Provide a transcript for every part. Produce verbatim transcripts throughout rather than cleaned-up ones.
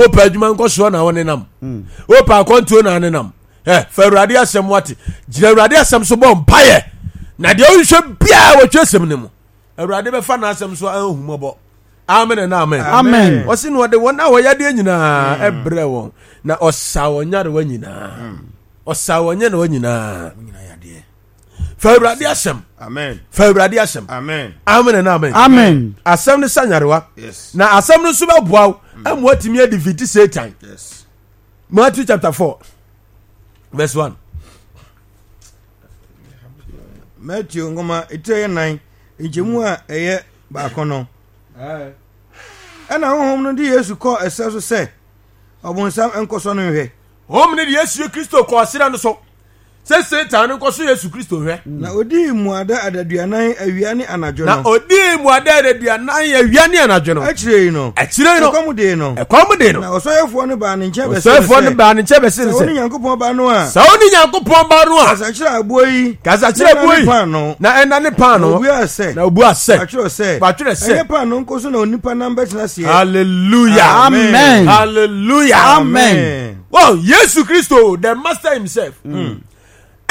Wopɛ adwuma nkɔsoɔ na wonenam, wopɛ akwantuo na anenam. Ɛ fa Awurade asɛm wate, gyina Awurade asɛm so bɔ mpaeɛ, na deɛ wohwehwɛ biara wɔtwerɛ sɛm no mu, Awurade bɛfa n'asɛm so ahu mmɔbɔ. Amen and amen. Amen. Ɔse na ɔde wɔn a wɔyɛ adeɛ nyinaa ɛbrɛ wɔn, na ɔsa wɔn nyarewa nyinaa, ɔsa wɔn nyarewa nyinaa. Fa Awurade asɛm. Amen. Fa Awurade asɛm. Amen. Amen and amen. Amen. Asɛm no sa nyarewa. Yes. Na asɛm no nso bɛboa wo ama watumi adefeat Satan. Yes. Matthew chapter four verse one. Matthew nwoma etire yɛ nan nkyɛmu a ɛyɛ baako no. Ɛna honhom no de Yesu kɔɔ ɛsɛ so sɛ ɔbonsam nkɔsɔ no nhwɛ. Honhom no de Yesu Kristo kɔɔ serɛ no so sɛ Satan no nkɔsɔ Yesu Kristo hwɛ. Na odii mmuada adaduanan awia ne anadwo Na no. odii mmuada adaduanan awia ne anadwo no. Akyire yi no, Akyire yi no, ɛkɔm dee no. ɛkɔm dee no. Na ɔsɔhwɛfoɔ no baa ne nkyɛn bɛsee no Ɔsɔhwɛfoɔ no sɛ, baa ne nkyɛn bɛsee no Sɛ wone sɛ, Nyankopɔn ba no a, sɛ wone Nyankopɔn ba no a, kasa kyerɛ aboɔ yi, kasa kyerɛ na ɛnane aboɔ yi, paanoo. na ɛnane paanoo. Na obuaa sɛ, Na obuaa sɛ, Wɔatwerɛ sɛ, Wɔatwerɛ sɛ, ɛnyɛ paanoo nko so na onipa nam bɛtena aseɛ. Hallelujah. Amen. Hallelujah. Amen. Well, Yesu Kristo, the master himself.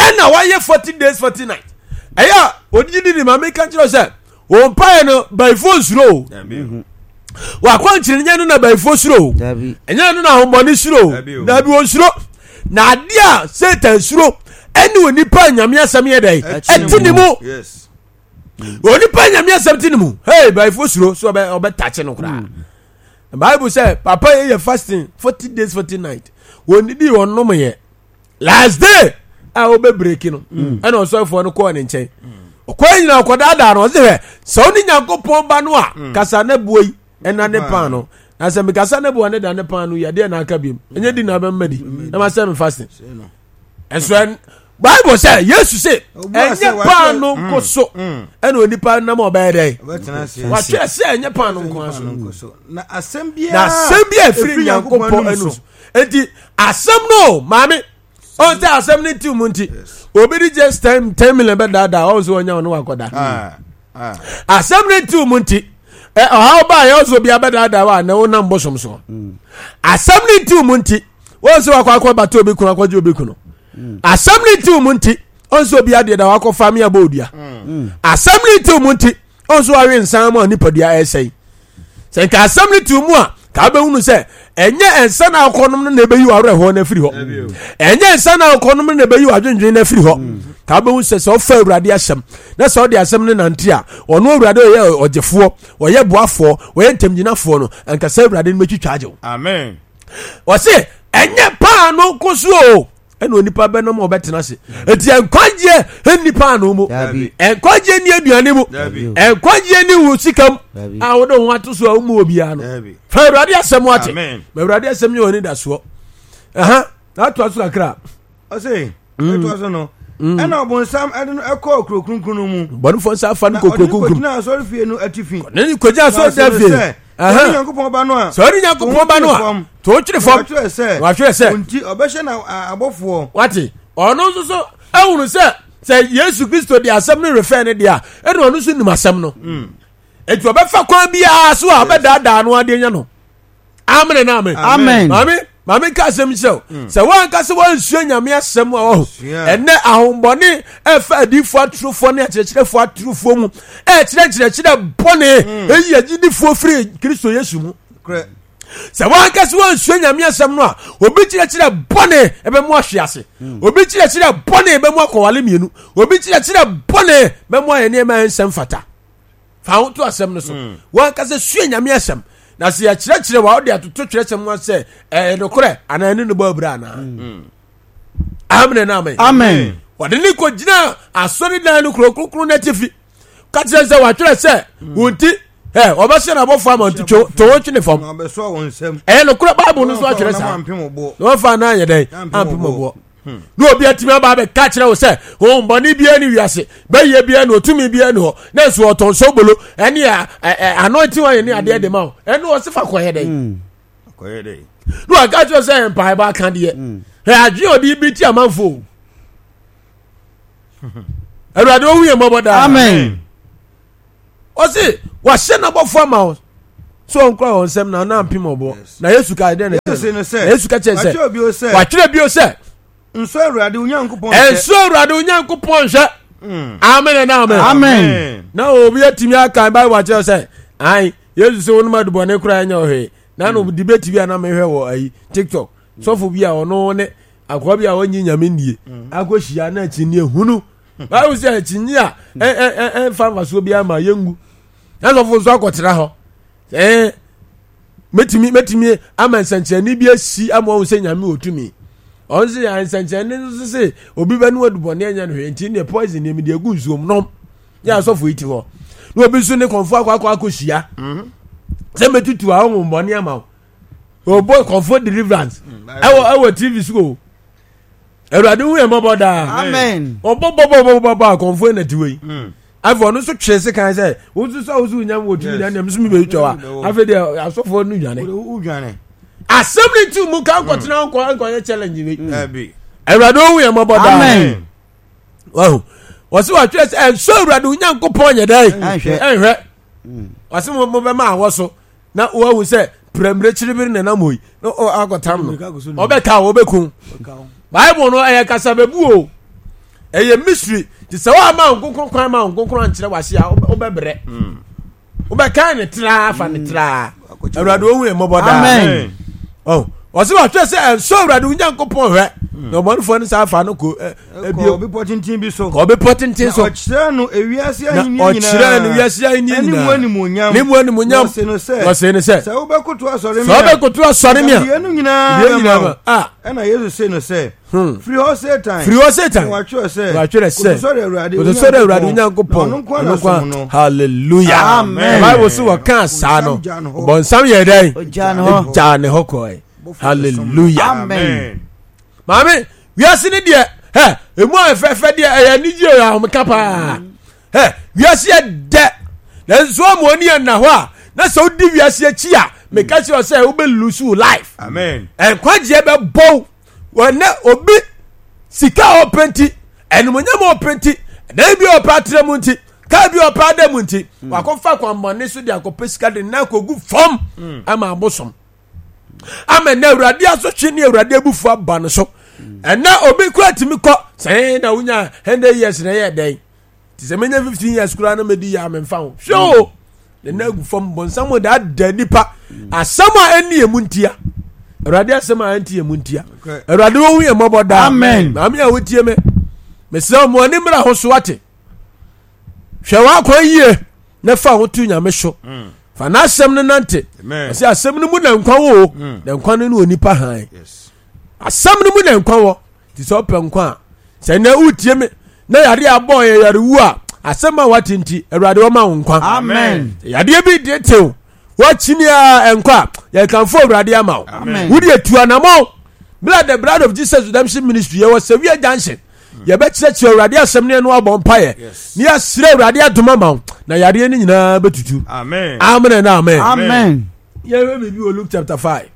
Ɛna wayɛ forty days forty nights. Ɛyɛ a ogyidi di ni maame ka kyerɛ sɛ wɔn mpaeɛ no bayifoɔ nsuro o. Wakwankyerɛ nyɛ no na bayifoɔ suro o. Dabi. Ɛnyɛ no na ahombɔne suro o. Dabi o. Dabi wɔn suro. Na adeɛ a Satan suro ɛne onipa a Nyame asɛm yɛ dɛ ɛte ne mu. Yes. Onipa Nyame asɛm te ne mu. Hey, bayifoɔ suro so ɔbɛ ɔbɛ takye no koraa. Bible sɛ papa yɛ yɛ fasting forty days forty night. Wɔn didi wɔn nom yɛ. Last day a wɔbɛ break no ɛna ɔsɔfoɔ no kɔɔ ne nkyɛn. Ɔkɔɛ nyina ɔkɔdaadaa no ɔsɛ hwɛ sɛ ɔne Nyankopɔn ba no a kasa ne boɔ yi ɛna ne pan no. Na sɛ mekasa ne boɔ ne da ne pan no yi adeɛ na aka biom. Ɛnyɛ di na abɛmma di na ma sɛ me fasting. Ɛnso ɛn Bible sɛ Yesu se Ɔbua sɛ ɛnyɛ watwerɛ- paano nko so ɛna onipa nam a ɔbɛyɛ dɛ. Ɔbɛtena aseɛ. Watwerɛ sɛ ɛnyɛ paano nko ara so. Paanoo nko so. Na asɛm biara Na asɛm bi a ɛfiri Nyankopɔn anum so. Enti asɛm no maame ɔn sɛ asɛm no nti mu nti obi de just ten ten million bɛdaadaa ɔn sɛ ɔnya ɔno wakɔda. Ah, ah. Asɛm no nti mu nti ɛ ɔhaw baa yɛ ɔsɛ obi abɛdaadaa wa na ɔnam bosom so. Asɛm no nti mu nti wɔn sɛ wakɔ akɔ bata obi kunu akɔgye obi kunu. Asɛm no nti mu nti ɔn sɛ obi adeɛ da wakɔ fa mi abɔ odua. Asɛm no nti mu nti ɔn sɛ wawe nsan mu a nipadua ɛsɛe. Sɛ nka asɛm no ti mu a ka wobɛhunu sɛ ɛnyɛ nsa na akɔnom no na ɛbɛyi w'awerɛhoɔ no afiri hɔ, ɛnyɛ nsa na akɔnom no na ɛbɛyi w'adwendwen no afiri hɔ. Ka wobɛhu sɛ sɛ ɔfa Awurade asɛm na sɛ ɔde asɛm no nante a, ɔno Awurade ɔyɛ ɔgyefoɔ, ɔyɛ boafoɔ, ɔyɛ ntamgyinafoɔ no, anka sɛ Awurade no bɛtwitwa agye wo. Amen. Ɔse ɛnyɛ paano nko so o ɛna onipa bɛnam a ɔbɛtena ase. Eti nkwagyeɛ nni paano mu, Dabi. nkwagyeɛ nni aduane mu, Dabi. nkwagyeɛ nni wo sika mu Dabi. a wode ho ato so a womu obiara no. Dabi. Fa Awurade asɛm ate. Amen. Ma Awurade asɛm nyɛ w'ani dasoɔ. Aha, na atoa so kakra. Ɔse, ɛtoa so no, ɛna ɔbonsam ɛde no ɛkɔɔ kuro kronkron no mu. Bɔnefoɔ nsa afa no Na kɔ ɔde kuro no kronkron. kɔgyinaa asɔrefie no atifi. Ne ne kɔgyina Na asɔre ɔse no fie. sɛ, Sɛ Aha. ɔne Nyankopɔn ba no a, Sɛ ɔne Nyankopɔn ba no a, to wo twere fam. Wɔatwerɛ sɛ, Wɔatwerɛ sɛ, Enti ɔbɛhyɛ na a- abɔfoɔ. Wate, ɔno nso so ahunu sɛ sɛ Yesu Kristo de asɛm no refɛ no deɛ a, ɛna ɔno nso nim asɛm no. Enti ɔbɛfa kwan biara so a ɔbɛdaadaa no adeɛ nya no. Amen na amen. Amen. Maame, maame nka asɛm kyerɛ wo. Sɛ woanka sɛ woansua Nyame asɛm a wahu. Sua. Ɛnɛ ahombɔne ɛfa adiyifoɔ atorofoɔ ne akyerɛkyerɛfoɔ atorofoɔ mu ɛkyerɛ nkyerɛkyerɛ bɔne ɛyi agyidifoɔ firi Kristo Yesu mu. Korɛ. Sɛ woanka sɛ woansua Nyame asɛm no a, obi kyerɛkyerɛ bɔne ɛbɛmu ahwe ase. Obi kyerɛkyerɛ bɔne bɛmu akɔwale mmienu. Obi kyerɛkyerɛ bɔne bɛmu ayɛ nneɛma a ɛnsɛ mfata. Fa ho to asɛm no so. Woanka sɛ sua Nyame asɛm. Na sɛ yɛkyerɛkyerɛ wa wode atoto twerɛsɛm ho sɛ ɛyɛ nokorɛ anaa ɛne no bɔ abira anaa. Amen na amen. Amen. Wɔde ne kɔgyina asɔredan no kuro kronkron no atifi ka kyerɛ sɛ wɔatwerɛ sɛ wo nti ɛ wɔbɛhyɛ n'abɔfoɔ ama nti to to wɔn twene fam. Na ɔbɛsoa wɔn nsam. Ɛyɛ nokorɛ Bible no nso atwerɛ saa. Na wɔampem wo boɔ. Na wɔmfa anaa yɛ dɛn Ampem ampem wo ɔboɔ. Na obi atumi aba abɛka kyerɛ wo sɛ honhommɔne biara ne wiase bɛyɛ biara ne ɔtumi biara ne hɔ na nso ɔtɔn sobolo ɛne a- ɛ- ɛ- anointing oil ne adeɛ de ma wo ɛne ɔse fa kɔyɛ dɛn. Kɔyɛ dɛn? Na waka kyerɛ sɛ mpaebɔ aka deɛ hwɛ adwene a ɔde bi ti amanfo o. Awurade ohu yɛn mmɔbɔ daa. Amen. Ɔse wahyɛ n'abɔfo ama wo So ɔnkura wɔn nsɛm na ɔna mpem ɔboɔ. Na Yesu ka dɛn na Yesu no sɛ, na Yesu ka kyerɛ sɛ, watwerɛ bio sɛ, watwerɛ bio sɛ, nsɔ Awurade wo Nyankopɔn nhwɛ. Ɛnsɔ Awurade wo Nyankopɔn nhwɛ. Mm. Amen and amen. Amen. Na obi atumi akan Bible akyerɛ sɛ, ae, Yesu sɛ wonom adubɔne koraa ɛnyɛ ɔhwee. Na no debate bi a na mehwɛ wɔ ayi TikTok. Sɔfo bi a ɔno ne akoa bi a ɔnye nyame nnie akɔhyia na akyinnye hunu. Bible sɛ akyinnye a ɛmfa mfasoɔ bi ama yɛngu. Na sɔfo nso akɔtena hɔ. Ɛɛ mɛtumi mɛtumi ama nsɛnkyerɛnne bi asi ama wɔn sɛ nyame wɔ tumi. Ɔno sɛ yɛ nsɛnkyerɛnne nso sɛ obi bɛ no adubɔne ɛnyɛ no hwee nti ne poison ne mede agu nsuom nom. Yɛ asɔfo yi ti hɔ. Na obi nso ne kɔnfo akɔ akɔ akɔhyia. Sɛ mɛtutu a ɔnwombɔne ama wo. Ɔbɔ kɔnfo deliverance ɛwɔ ɛwɔ T V so o. Awurade hu yɛn mmɔbɔ daa. Amen. Ɔbɔ bɔ bɔ bɔ bɔ bɔ akɔnfo na ti wei. Afei ɔno nso twere sekan sɛ wo nso sɛ wo so wonya wɔ tumi na nea nso mebɛyi twa wa. Afei deɛ asɔfoɔ no dwane. Asɛm ne nti mu ka nkɔtena nkɔ nkɔyɛ challenge wei. Awurade hu yɛn mmɔbɔ daa. Amen. Wahu wɔsi wɔatwerɛ sɛ ɛnsɔ Awurade wo Nyankopɔn nyɛ dɛn ɛnhwɛ. Wɔsi mo bɛma awɔ so na wahu sɛ pɛrɛmire kyiribiri na nam hɔ yi na akɔtam no ɔbɛka ɔbɛku. Bible no ɛyɛ kasa bɛbu o, ɛyɛ mystery te sɛ wɔama nkonkron kwan ma nkonkron ankyerɛ wase a, wobɛbrɛ, wobɛkan ne traa fa ne traa. Awurade ohu yɛn mmɔbɔ daa. Amen. Ɔsɛ wɔatwerɛ sɛ ɛnsɔ Awurade wo Nyankopɔn hwɛ na ɔbɔnefoɔ no saa fa no kɔ ebio bepɔ tenten bi so. Kɔ bepɔ tenten so. Na ɔkyerɛ no ewiase ahenni nyinaa. Na ɔkyerɛ no wiase ahenni nyinaa. Ne mu animuonyam. Ne mu animuonyam. Na ɔse no sɛ. Na ɔse no sɛ. Sɛ wobɛkoto asɔre mi a. Sɛ wobɛkoto asɔre mi a. Yɛn nyinaa bɛma wo. Ah. Ɛna Yesu se no sɛ. Hmm. Firi hɔ Satan. Firi hɔ Satan. Na watwerɛ sɛ. Watwerɛ sɛ. Kotosɔre Awurade. Kotosɔre Awurade Onyankopɔn. Ɔno nko ara som no. Hallelujah. Amen. Bible so wɔka saa no. Bɔnsam yɛ dɛn? Ogyaa ne hɔ. Ogyaa ne hɔ kɔɛ. Hallelujah. Amen. Maame, wiase ne deɛ ɛ emu ayɛ fɛfɛ deɛ, ɛyɛ anigye yɛ ahomeka paa. Ɛ wiase yɛ dɛ, nanso ɔmo ani yɛ nna hɔ a, na sɛ wodi wiase akyi a, meka kyerɛ sɛ wobɛ lose wo life. Amen. Nkwagyeɛ bɛbɔw wɔnɛ obi sika a ɔpɛ nti, ɛnumonyam a ɔpɛ nti, ɛdan bi a ɔpɛ atena mu nti, kaa bi a ɔpɛ ada mu nti, wakɔfa kwanbɔne so de akɔpɛ sika de nan akɔgu fam ama abosom ama ɛnɛ Awurade asotwe ne Awurade abufu aba no so. Ɛnɛ obi kura tumi kɔ sɛn na wonya hundred years na ɛyɛ dɛn te sɛ menya fifteen years koraa na medi yɛ amemfa ho hwɛ o, ne nan agu fam. Bɔnsam da ada nipa asɛm a ɛnni emu ntia, Awurade asɛm a ɛnti emu ntia. Awurade wɔn yɛ mmɔbɔ daa. Amen. Maame a wotie me, mesrɛ mo ani mmra ho so ate. Hwɛ w'akwan yie na fa ho to Nyame so, fa n'asɛm no nante. Ɔsɛ asɛm no mu na nkwa wɔ o, na nkwa no ne onipa han. Asɛm no mu na nkwa wɔ, nti sɛ ɔpɛ nkwa a, sɛ nnɛ wotie me na yare abɔ yɛ yarewu a, asɛm a wate nti, Awurade ɔma wo nkwa. Amen. Yadeɛ bi de tew wakyini a ɛnkɔ a, yɛkamfo Awurade ama wo. Wode atu anammɔn bla The Blood of Jesus Redemption Ministry, yɛwɔ Sɛwia Junction. Yɛbɛkyerɛkyerɛ Awurade asɛm ne ɛno abɔ mpaeɛ ne yɛasrɛ Awurade adom ama wo na yareɛ no nyinaa bɛtutu. Amen. Amen and amen. Amen. Yɛhwɛ biribi wɔ Luke chapter five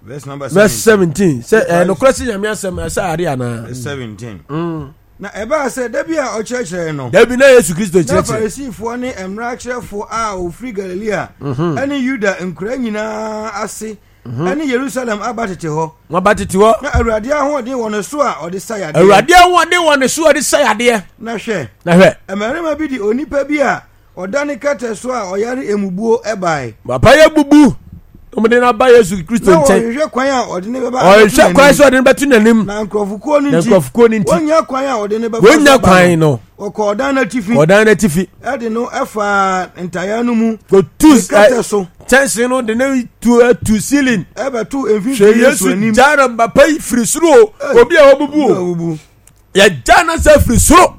verse number verse seventeen sɛ ɛyɛ nokorɛ sɛ Nyame asɛm ɛsɛ ade anaa. Seventeen. Na ɛbaa sɛ da bi a ɔkyerɛkyerɛ no, dabi na Yesu Kristo na kyerɛkyerɛ Farisifoɔ ne mmara kyerɛfoɔ a wɔfiri Galilea ne Yuda nkura nyinaa ase ne Yerusalem aba tete hɔ. Wɔba tete hɔ. Na Awurade ahoɔden wɔ ne so a ɔde sa yadeɛ. Awurade ahoɔden wɔ ne so a ɔde sa yadeɛ. Na hwɛ, na hwɛ, mmarima bi de onipa bi a ɔda ne kɛtɛ so a ɔyare emubuo bae. Papa yɛ bubu, wɔde no aba Yesu Kristo Na nkyɛn. wɔhwehwɛ kwan a ɔde ne bɛba ɔhwehwɛ kwan sɛ ɔde no bɛto n'anim. Na nkurɔfokuo no na nti nkurɔfokuo no nti wɔnnya kwan a ɔde ne bɛfa wɔnya so aba kwan no, wɔkɔ ɔdan no atifi ɔdan no atifi ɛde no ɛfaa ntayaa no mu kɔtu ne kɛtɛ so kyɛnse no de ne tu atu ceiling ɛbɛto hwɛ mfimfini Yesu Yesu anim. gya no papa yi firi soro o, Ei. obi a wabubu o, Obubu. yɛgya no sɛ firi soro.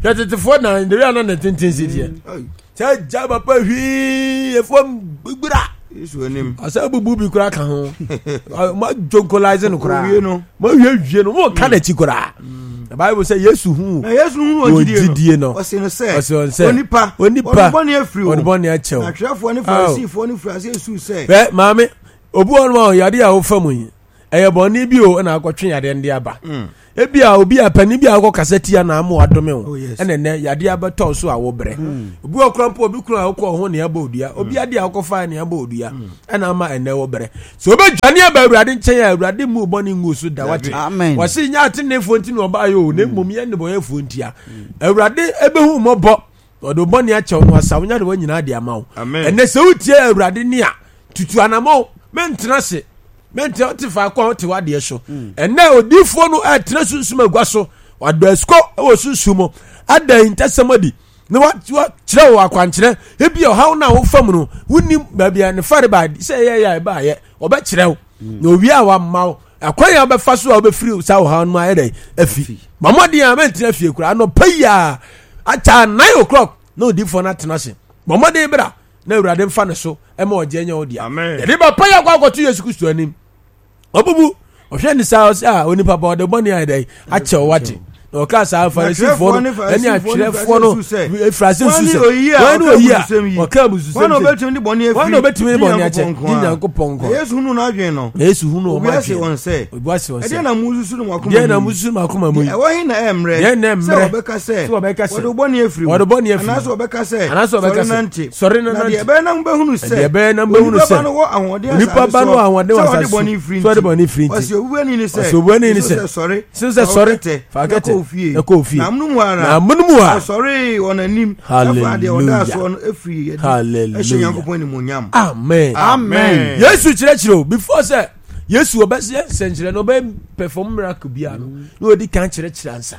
Hwɛ tetefoɔ na ndewia na ne tenten si deɛ Ai, sɛ gya papa hwii efuam gbira. Yesu anim. Ɔsɛ bubu bi koraa ka ho, mo adjonkolise no koraa. Owie no. Mo awie wie no, mo ka n'akyi koraa. Na Bible sɛ Yesu hu Na Yesu hunu wɔn wɔn gyidie gyidie no, no, ɔse no sɛ, ɔse wɔn sɛ, onipa, onipa, ɔde bɔne afiri wo. Ɔde bɔne akyɛ wo. Na atwerɛfoɔ ne Farisifoɔ no firi aseɛ suu sɛ, Hwɛ maame, obi wɔ nom a yadeɛ a wofa mu yi, ɛyɛ bɔne bi o na akɔtwe yadeɛ no de aba. Ebi a obi a panin bi a wokɔ kasa tia na ama wadome wo. Oh, yes. Ɛna ɛnɛ yadeɛ abɛtɔ so a wobrɛ. Obi wɔ kora mpo obi kunu a wokɔ ho nea ɛbɔ odua. Obi adeɛ a wokɔfa nea ɛbɔ odua. Ɛna ama ɛnɛ wobrɛ. Sɛ wobɛdwane aba Awurade nkyɛn a Awurade mmu wo bɔne ngu so da wate. Amen. Wɔse nyɛ ateneneefoɔ nti na ɔbaeɛ o na mmom yɛ nnebɔneyɛfoɔ ntia. Awurade ɛbɛhu mmɔbɔ ɔde wo bɔne akyɛw no asa wo nyarewa nyinaa de ama wo. Amen. Ɛnɛ sɛ wotie Awurade ne a tutu anamɔ mɛntena ase mɛntena wote faako a wote w'adeɛ so. Ɛnɛ odiifoɔ no ɛtena sunsum agua so wadɔ asukɔ wɔ sunsum mu ada ahintasɛm adi na wakyerɛ wo akwankyerɛ ebi ɔhaw no a wofa mu no wonim baabi a ne fare ba sɛ ɛyɛ yɛ a ɛbaayɛ ɔbɛkyerɛ wo na owie a wamma wo akwan a wobɛfa so a wobɛfiri saa ɔhaw no mu ayɛ dɛn afi ma mmɔden a mɛntena fie koraa anɔpa yi a akyɛ nine o'clock na odiifoɔ no atena ase ma mmɔden bra na awurade mfa ne so ɛma ɔgye nyɛ wo dea Amen. yɛde bɛpa yɛ akɔ akɔto yesu kristo anim ɔbubu ɔhwɛ ne saa ɔsɛ a onipa ba ɔde bɔne ayɛ dɛn akyɛ wo wate na ɔka saa farisifoɔ no ɛne atwerɛfoɔ no efirase nsu sɛ wɔn ne oyi a ɔka abususɛm wɔn na sɛ ɔbɛtumi de bɔne afiri wɔn na ɔbɛtumi de bɔne akyɛ Nyankopɔn nko di ara. nyankopɔn nko Na Yesu hunu n'adwene no na yesu hunu wɔn obi ase adwene wɔn sɛ obi ase wɔn ɛdeɛ sɛ na mususu no mo akoma deɛ na mu yi? mususu mo akoma mu yi Deɛ ɛwɔ he na ɛyɛ mmerɛ Deɛ na ɛyɛ sɛ mmerɛ wɔbɛka sɛ sɛ wɔbɛka sɛ wɔde wo bɔne afiri wo wɔde bɔne afiri anaasɛ wo. wɔbɛka sɛ Anaasɛ wɔbɛka sɔre sɛ, nante sɔre na na deɛ nante. ɛbɛyɛ na mobɛhunu sɛ Deɛ ɛbɛyɛ na mobɛhunu onipa ba sɛ no wɔ ahoɔden onipa asase ba no wɔ soɔ ahoɔden wɔ sɛ ɔde asase so, bɔne firi sɛ ɔde nti bɔne firi nti. ɔse obubuani ne sɛ Ɔse obubuani ne Yesu sɛ, sɛ sɔre Yesu sɛ fa wo sɔre, kɛtɛ fa wo na kɛtɛ, kɔ wo fie na kɔ wo fie. na amonom hɔ ara Na amonom hɔ ara ɔsɔree wɔn anim ɛfaa deɛ ɔdaa Hallelujah. soɔ no ɛfirii adi ɛhyɛ Hallelujah. Nyankopɔn animuonyam amen Amen. yesu kyerɛkyerɛ o before sɛ yesu ɔbɛyɛ nsɛnkyerɛ no ɔbɛyɛ perform miracle biara no na ɔdi kan kyerɛkyerɛ ansa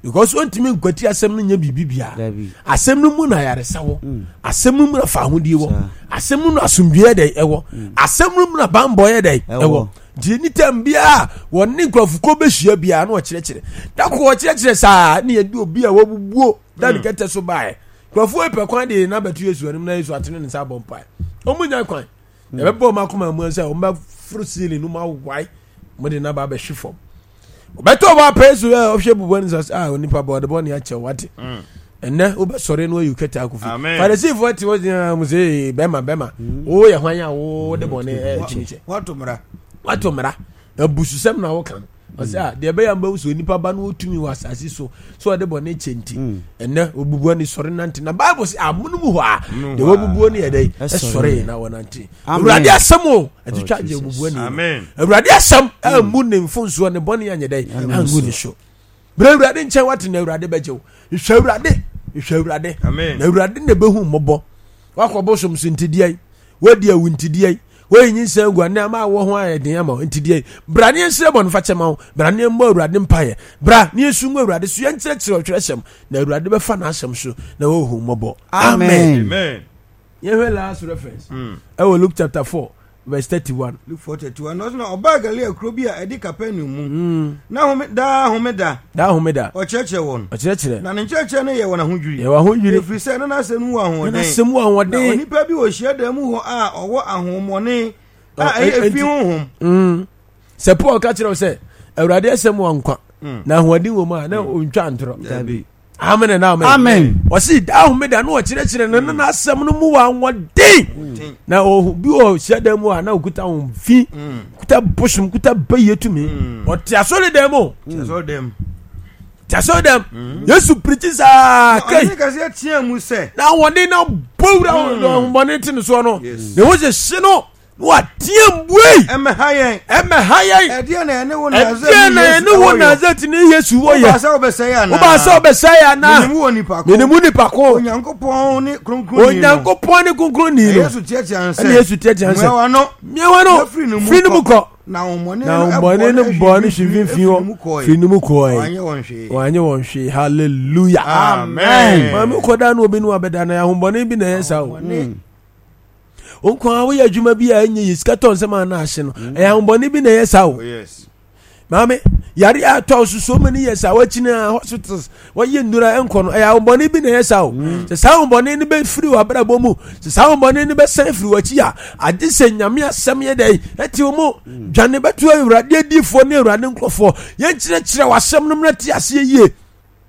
because ɔntumi nkwati asɛm no nyɛ biribi biara Dabi. asɛm no mu na ayaresa wɔ asɛm no mu na fahodie wɔ Saa. asɛm no mu na asomdwoeɛ dɛ ɛwɔ asɛm no mu na bambɔ yɛ dɛ Ɛwɔ. ɛwɔ nti ne tam biara wɔne nkurɔfokuo bɛhyia biara na ɔkyerɛkyerɛ da ko ɔkyerɛkyerɛ saa ne yɛde obi a wabubuo da ne kɛtɛ so baeɛ nkurɔfoɔ yi pɛ kwan de na bɛto yesu anim na yesu atene ne nsa abɔ mpae ɔmu nya kwan yɛbɛbɔ ɔmo akoma mu sɛ ɔmo bɛforo ceiling no mu awae mo de naba abɛhwe fam ɔbɛtɔ ɔbɔ apɛ yesu ɛ ɔhwɛ bubu ne nsa sɛ ah onipa bɔ ɔde bɔ ne akyɛw wate ɛnɛ wobɛsɔre no ayi kɛtɛ akɔ fi Amen. farisifoɔ te hɔ gyina mo sɛ "Ee, bɛrima bɛrima woyɛ hwan a wode bɔne ɛtumi kyɛ wato mmara wato mmara abususɛm na woka no ɔsɛ a deɛ ɛbɛyɛ mbɛhu sɛ onipa ba no ɔtumi wɔ asase so sɛ ɔde bɔne kyɛ nti ɛnɛ obubuo ne sɔre nante na bible sɛ amono mu hɔ a deɛ wabubuo no yɛ dɛn Ɛsɔre. ɛsɔre na wɔnante Amen. awurade asɛm o ɛtwitwa Oh, gye Jesus. obubuo ne Amen. awurade asɛm ammu ne mfonsoɔ ne bɔne anyɛ dɛn angu ne so berɛ awurade nkyɛn wate na awurade bɛgye wo hwɛ awurade hwɛ awurade Amen. na awurade na ɛbɛhu mmɔbɔ wakɔ bosom so ntideɛ yi wadi awu ntideɛ yi woyi nyinsɛn gu ane ama awɔ ho ayɛ den ama wo ntideɛ yi bra ne yɛnsrɛ bɔne fakyɛ ma wo bra ne yɛmmɔ awurade mpaeɛ bra ne yɛsu ngu awurade so yɛnkyerɛkyerɛ ɔtwerɛsɛm na awurade bɛfa n'asɛm so na wɔhu mmɔbɔ Amen. Amen. yɛhwɛ last reference ɛwɔ luke chapter four verse thirty-one Luke four thirty one na ɔsɛ na ɔbaa Galilea kuro bi a ɛde Kapernaum mu na home daa homeda daa homeda ɔkyerɛkyerɛ wɔn ɔkyerɛkyerɛ na ne nkyerɛkyerɛ no yɛ wɔn ahodwiri yɛwɔ ahodwiri ɛfiri sɛ na n'asɛm no mu wɔ na ahoɔden n'asɛm wɔ na ahoɔden onipa bi wɔ hyiadan mu hɔ a ɔwɔ ahohommɔne a Ɔ, ɛyɛ ɛ- efi enti- honhom Mm. sɛ paul ka kyerɛ wo sɛ awurade asɛm wɔ nkwa na ahoɔden wɔ mu a na ɔntwa ntorɔ Dabi. amen and amen Amen. ɔsi daa homeda na ɔkyerɛkyerɛ no na n'asɛm no mu wɔ ahoɔden na ɔhu bi wɔ hyiadan mu a na ɔkuta wɔn fi kuta bosom kuta bayie tumi ɔte asɔre dan mu Kyerɛ dɛm te asɔre dan mu yesu pirikyi saa kai ɔne kɛseɛ teɛ mu sɛ na ahoɔden na bɔ wura ahoɔden te ne soɔ no Yes. na ɛwɔ sɛ hye no na wateɛ mbuei ɛmɛha yɛn ɛmɛha yɛn ɛdeɛ na ɛne wo ɛdeɛ na ɛne wo Nasaret ne Yesu wɔ wobaa yɛ sɛ wobɛsɛe anaa wobaa sɛ wobɛsɛe anaa menim wɔ nipa ko menim wo nipa ko onyankopɔn ne kronkronni no onyankopɔn ne kronkronni Na no yesu teatea no sɛ ɛne Yesu teatea no sɛ mmoawa no mmeawa no na firi ne mu firi ne mu kɔ na ahommɔne na no ahommɔne no bɔɔ no hwe mfimfini firi ne mu hɔ kɔe firi ne mu kɔe wanyɛ wɔn hwee wanyɛ wɔn hwee hallelujah amen maame wokɔda no obi ne wabɛda no ahommɔne bi na ɛyɛ saa o wo nko a woyɛ adwuma bi a ɛnyɛ yɛ sika tɔ nsɛm a na ahye no ɛyɛ ahommɔne bi na ɛyɛ saa o Oh, yes maame yare a atɔ so so many years a wakyini a hospitals wɔyɛ nnura nkɔ no ɛyɛ ahombɔne bi na ɛyɛ saa o sɛ saa ahombɔne no bɛfiri w'abrabɔ mu sɛ saa ahombɔne no bɛsan firi w'akyi a agye sɛ nyame asɛm yɛ dɛn ɛte wo mu dwane bɛto awurade adiifoɔ ne awurade nkurɔfoɔ yɛnkyerɛkyerɛ w'asɛm no mmra te aseɛ yie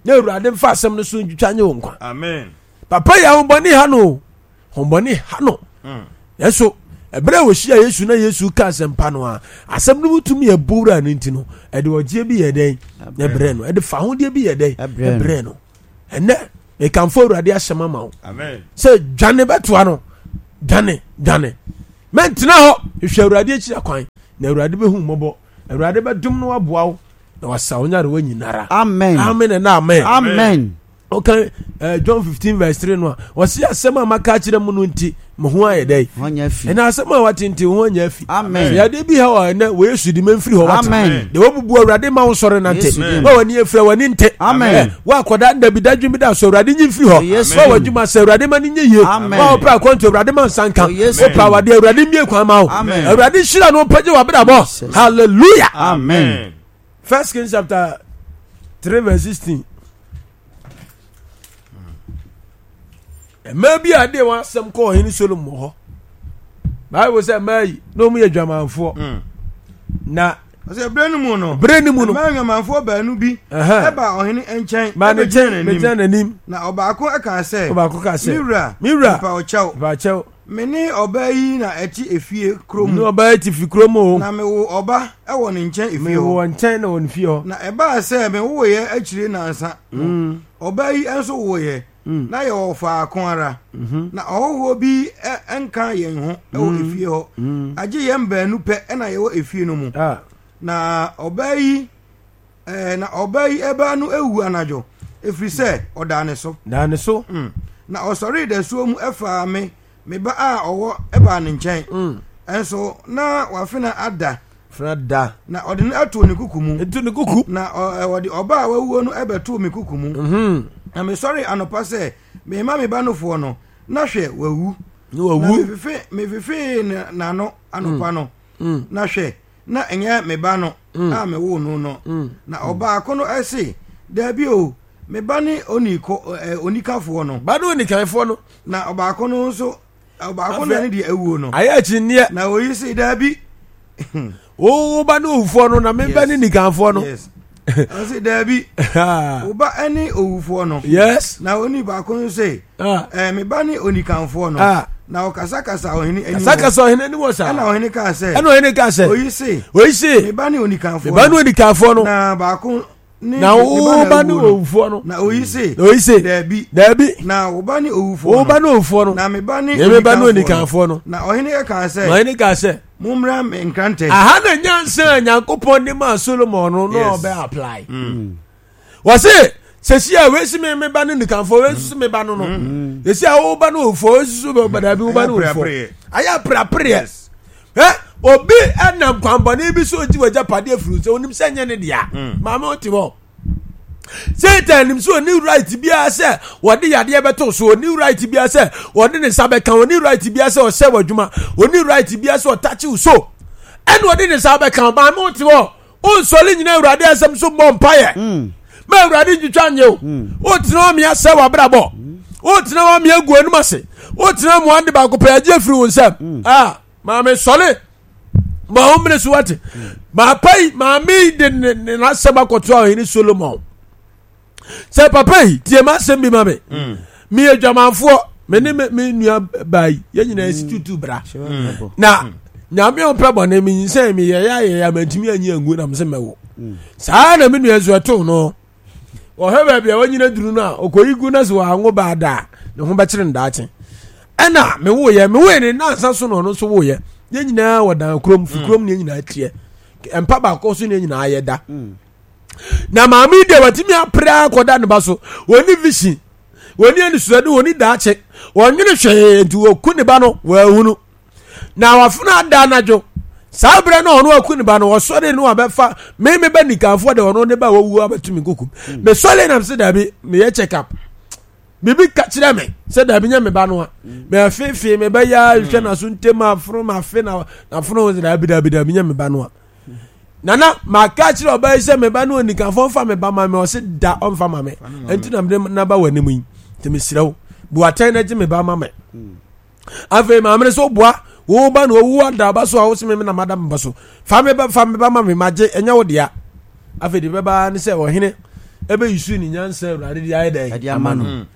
na awurade mfa asɛm no so ntwitwa nye wo nkwa amen papa yɛ ahombɔne ha no o ahombɔne ha no nanso Ɛberɛ a wɔhyia Yesu na Yesu ka asɛmpa no a, asɛm no mu tumi ɛbɔ wura no nti no, ɛde ɔgyeɛ bi yɛ dɛn? Ɛbrɛ no. Ɛde fahodeɛ bi yɛ dɛn? Ɛbrɛ no. Ɛnɛ, mekamfo Awurade asɛm ama wo sɛ dwane bɛtoa no, dwane, dwane. Mɛntena hɔ, hwehwɛ Awurade akyiri akwan, na Awurade bɛhu mmɔbɔ. Awurade bɛdom no aboa wo na wasa wo nyarewa nyinara. Amen. Amen and amen. Amen. Ɔka eh, John fifteen verse three no a ɔsi asɛm a maka akyerɛ mu no nti mo ho ayɛ dɛ. Ɛna asɛm a wate nti ho anya afi. Amen. Yadeɛ bi ha wɔ ɛnɛ wɔ Yesu di mɛmfiri hɔ wate. Amen. Deɛ wabubu Awurade ma wo sɔre nante. Wa w'ani afira w'ani nte. Amen. Wa akɔda nda bi dadwene bi da so Awurade nyi mfiri hɔ. Wa w'adwuma sɛ Awurade ma no nyɛ yie. Wa wopɛ akwantu Awurade ma nsa nka. Wopɛ awadeɛ Awurade mmie kwan ma wo. Awurade nhyira no mpagye w'abrabɔ. Hallelujah. Amen. First Kings chapter three verse sixteen. Mmaa bi a de wɔn asɛm kɔɔ ɔhene Solomon hɔ. Bible sɛ mmaa yi na wɔn yɛ dwamanfoɔ. Mm. Na ɔsɛ bere no mu no bere no mu no mmaa nwamanfoɔ baanu bi ɛba ɔhene nkyɛn ba ne nkyɛn bɛgyina n'anim. Na ɔbaako kaa sɛ, ɔbaako kaa sɛ, me wura, me wura, mepa wo kyɛw, mepa kyɛw, me ne ɔbaa yi na ɛte efie kuro mu. Ne ɔbaa yi te fi kuro mu o. Na mewo ɔba wɔ ne nkyɛn efie hɔ. Mewo wɔ nkyɛn na wɔ ne fie hɔ. Na ɛbaa sɛ mewoeɛ akyire nnansa no, mm. ɔbaa yi nso woeɛ, mm. na yɛwɔ faako ara. Mm-hmm. Na ɔhɔhoɔ bi nka yɛn ho wɔ mm. efie hɔ. Agye yɛn baanu pɛ na yɛwɔ efie no mu. Ah. Na ɔbaa yi Ɛɛ, na ɔbaa yi ɛbaa no ewu anadwo, ɛfiri sɛ ɔdaa ne so. Daa ne so. Mm. Na ɔsɔree dasuo mu ɛfaa me, me ba a ɔwɔ ɛbaa ne nkyɛn. Mm. Ɛnso na wafena ada. Fena da. Na ɔde no ato ne kuku mu. Etu ne kuku. Na ɔ, ɔde ɔbaa a wawuo no ɛbɛtoo me kuku mu. Mm -hmm. Na mesɔree anɔpa sɛ merema me ba nofoɔ no, na hwɛ, wawu. Na wawu. Na mefefe, mefefee n'ano anɔpa mm. no, mm. na hwɛ, na ɛnyɛ me ba no mm. a mewoo no no mm. na ɔbaako no ɛse daabi o me ba ne oniko ɛ onikafoɔ no ba ne onikanfoɔ no na ɔbaako no nso ɔbaako na ne deɛ awuo no ayɛ akyinneɛ na oyi se daabi wo ba ne owufoɔ no na me ba ne nikanfoɔ no yes ɔse daabi wo ba ne owufoɔ no yes na oni baako no se ah. eh, me ba ne onikanfoɔ no ah. na ɔkasakasa ɔhene anim kasakasa ɔhene anim wɔ saa ɛna ɔhene kaa sɛ ɛna ɔhene kaa sɛ oyi se oyi se me ba ne onikanfoɔ me ba ne onikanfoɔ no na baako ne na wo ba ne owufoɔ no na oyi se na oyi se daabi daabi na wo ba ne owufoɔ wo ba ne owufoɔ no na me ba ne me ba ne onikanfoɔ no na ɔhene kaa sɛ na ɔhene kaa sɛ mommra me nkrantɛ aha na nyansa a Nyankopɔn de maa Solomon no na ɔbɛ apply mm. wɔse sɛsi a wei si me me ba ne nikanfoɔ wei nso me ba no no mm. sɛsi a wo ba no owufoɔ wei nso bɛ daabi wo ba no owufoɔ ayɛ apreapreɛ ɛ obi ɛnam kwanbɔne bi so ogye w'agyapadeɛ afiri sɛ onim sɛ nyɛ ne dea mm. maame wote hɔ Satan nim sɛ ɔni right biara sɛ wɔde yadeɛ bɛto so ɔni right biara sɛ wɔde ne nsa bɛka ɔni right biara sɛ ɔsɛ w'adwuma ɔni right biara sɛ ɔtakye wo so ɛna ɔde ne nsa bɛka maame wote hɔ wonsɔre nyina awurade asɛm so mmɔ mpaeɛ mm. ma awurade ntwitwa nyɛ o mm. wotena hɔ mea sɛ w'abrabɔ mm. wotena hɔ mea gu anim ase wotena hɔ mmoa de baako pɛ agye afiri wo nsam ah maame sɔre ma wo mmere so wate maapa yi maame yi de ne ne n'asɛm akɔto a ɔhene Solomon sɛ papa yi tie m'asɛm bi ma me meyɛ dwamanfoɔ me ne me nua baa yi yɛn nyinaa esi tutu bra na nyame ɔmpɛ bɔne me nyinsɛn me yɛyɛ ayɛyɛ a mantumi anyi angu na mesɛ mɛwo saa na me nua nso ɛtoo no ɔhwɛ baabi a wanyina duru no a ɔkɔyi gu no sɛ wɔanwo baa da a ne ho bɛkyere no daakye ɛna mewoyɛ mewoyɛ ne nansa so na ɔno nso woyɛ yɛn nyinaa wɔ dan kurom fi kurom ne yɛn nyinaa teɛ mpa baako so ne yɛn nyinaa yɛ da mm. na maame yi deɛ watumi apere akɔda ne ba so wɔni vision wɔni anisoade wɔni daakye wɔnwene hwee nti wɔku ne ba no wɔahunu na wafena ada anadwo saa berɛ no ɔno aku ne ba no ɔsɔre no abɛfa me me ba nikanfoɔ de ɔno ne ba wɔwu abɛto me nkokum hmm. mesɔre nam sɛ daabi meyɛ check up biribi ka kyerɛ me sɛ daabi nyɛ me ba no a hmm. mɛfeefee me bɛyɛ hwɛ naso ntem afono mafe na nafono sɛ daabi daabi daabi nyɛ me ba no a nana maka kyerɛ ɔbaa yi sɛ me ba no onikanfoɔ mfa me ba ma me ɔse da ɔmfa ma me ɛnti na mede naba wɔ anim yi nti mesrɛ wo buatɛn na gye me ba ma me hmm. afei maame no so boa wo ba na owu ada aba so a wo se me na mada me ba so fa me ba fa me ba ma me magye ɛnyɛ wo dea afei de bɛba ne sɛ ɔhene ɛbɛyi su ne nyansa awurade de ayɛ dɛ ama no mm.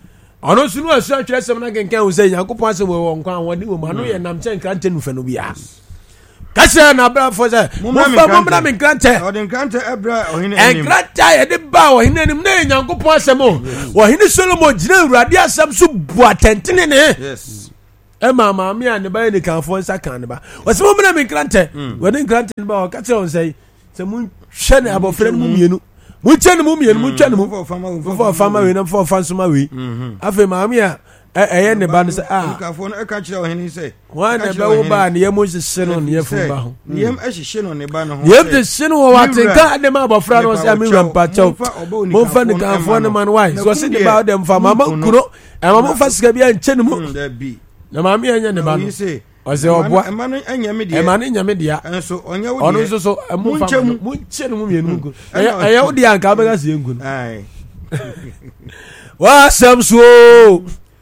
Ɔno nso no asua twerɛsɛm no akenkan hu sɛ Nyankopɔn asɛm wɔ wɔ nkwa ahoɔden wɔ mu, ano yɛ nam kyɛ nkrantɛ nufɛ no biara. Ka kyerɛ n'abrafo sɛ, momfa mommra me nkrantɛ. Ɔde nkrantɛ brɛ ɔhene anim. Nkrantɛ a yɛde baa ɔhene anim na yɛ Nyankopɔn asɛm o. Ɔhene Solomon gyina Awurade asɛm so bu atɛntenenee. Yes. Ɛma maame a ne ba yɛ nikanfoɔ nsa kan ne ba. Ɔsɛ mommra me nkrantɛ. Mm. Wɔde nkrantɛ no ba ɔka kyerɛ wɔn sɛ sɛ monhwɛ ne abɔfra no mu mmienu. Monkyɛ ne mu mmienu, monkyɛ ne mu. Momfa ɔfa ma wei na momfa ɔfa nso ma wei. Mm-hmm. Afei maame a ɛyɛ ne ba no sɛ a. Nkafoɔ no ɛka kyerɛ ɔhene sɛ. Wɔn na ɛbɛwo ba a ne yam nhyehye no ne yafunu ba ho. Ne yam hyehye no ne ba no ho. Ne yam hyehye no wɔ watenka de ma abɔfra no sɛ me wura mpakyɛw. Momfa ne kanfoɔ no ma no wae. So ɔse ne ba ɔdɛ mfa mama nkuro. Ɛma momfa sika bi ankyɛ ne mu. Mm, Na maame ɛnyɛ ne ba no. Ɔsɛ ɔboa. Ɛma no nyɛ me deɛ. Ɛma no nyɛ me dea. Ɛnso ɔnyɛ wo deɛ. Ɔno nso so momfa mu. Monkyɛ no mu mmienu mu nku. Ɛyɛ wo deɛ anka wobɛka sɛ yɛnku no. W'asɛm so.